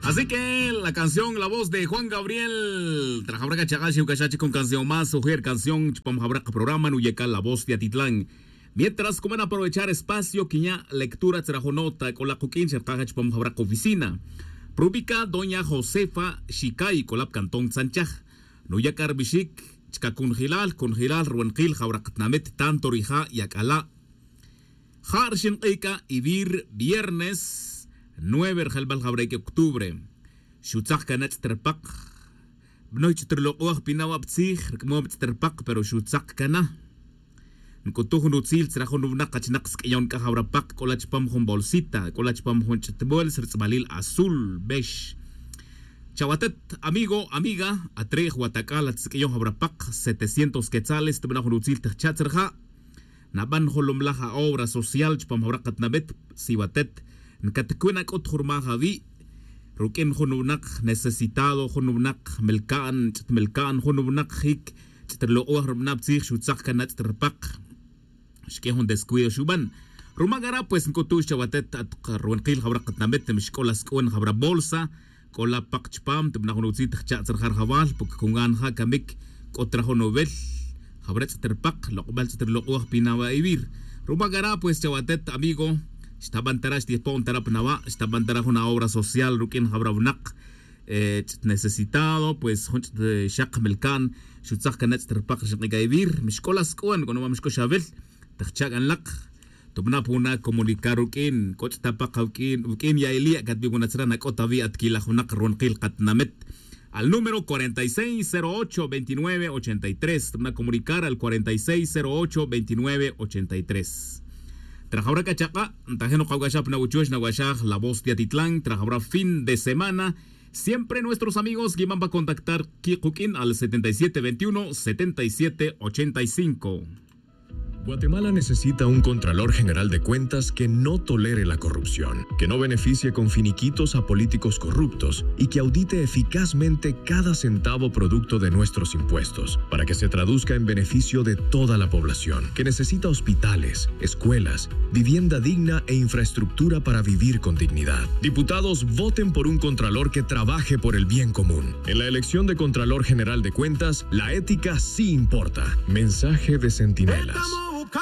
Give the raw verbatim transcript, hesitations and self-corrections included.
Así que la canción, la voz de Juan Gabriel. Trajabra cachaka xiu cachachi con canción más, sujer canción chupam jabra programa nuyeca la voz de Atitlán. Mientras comen aprovechar espacio quiña lectura trajo nota cola cuquin chercaja chupam jabra oficina. Prubica doña Josefa Shicay colap cantón tzanchaj. Nuyacar bixic chca cunjilal cunjilal ruenkil jabra katnamit tanto rija' yac'ala'. Ja' rixin k'ic'a ivir viernes nueve rjelbal jawrek octubre. Xutzak cana ch'it rpak. Bnoy ch'it rlok'oj pina wa ptzij rc'mom ch'it rpak pero xutzak cana. Nc'utuj jun utzil tzra jun wnak kachnak sk'eyon c'a jawra pak c'ola chupam jun bolsita c'ola chupam jun ch'it bols rtz'balil azul bex. Chawatet amigo amiga, atrij watac'al atsk'eyon jawra pak setecientos quetzales tbana jun utzil tjcha' tzra ja'. Naban jolomlaj a obra social chupam jawra katnabet. Siwatet ncatcuna c'ut jurmaj awi'. Ruq'uin jun wnak necesitado jun wnak melca'n ch'it melca'n jun wnak jic ch'it rlok'oj rbana ptzij xutzak can ach'it rpak. Xq'ue jun descuido xuban. Ruma cara pues nc'utux chawatet at ruwenkil jawra katnabet mixc'ola sc'u'un jawra bolsa. C'ola pak chupam tubana jun utzil tjcha' tzra ja' rjawal porque con gan ja' camic c'o tra jun uwel. Jawra ch'it rpak lok'bal ch'it rlok'oj pina wa ivir. Ruma cara pues chawatet amigo, xtaban tara xtipo'n tara pnawa' xtaban tara jun aobra social ruq'uin jawra wnak ch'it necesitado pues jun ch'it xak melca'n. Xutzak can ach'it rpak rixin k'ic'a ivir mixc'ola sc'u'un c'o numa mixc'o xawel. Tjcha' can lak tubana puna comunicar ruq'uin c'o ch'it apak awuq'uin ya' ili' catbi' wuna tzra nac'ot awi' atquilaj wnak ruwenkil katnamit. Al número cuarenta y seis cero ocho veintinueve ochenta y tres tubana comunicar al cuarenta y seis cero ocho veintinueve ochenta y tres. Trajawra c'a chak'a' ntajin nokawc'axaj pna wuchuch nawa'xaj la voz de atitlán trajawra fin de semana. Siempre nuestros amigos guimamba contactar quikuq'uin al setenta y siete veintiuno setenta y siete ochenta y cinco. Guatemala necesita un Contralor General de Cuentas que no tolere la corrupción, que no beneficie con finiquitos a políticos corruptos y que audite eficazmente cada centavo producto de nuestros impuestos, para que se traduzca en beneficio de toda la población, que necesita hospitales, escuelas, vivienda digna e infraestructura para vivir con dignidad. Diputados, voten por un Contralor que trabaje por el bien común. En la elección de Contralor General de Cuentas, la ética sí importa. Mensaje de Centinela.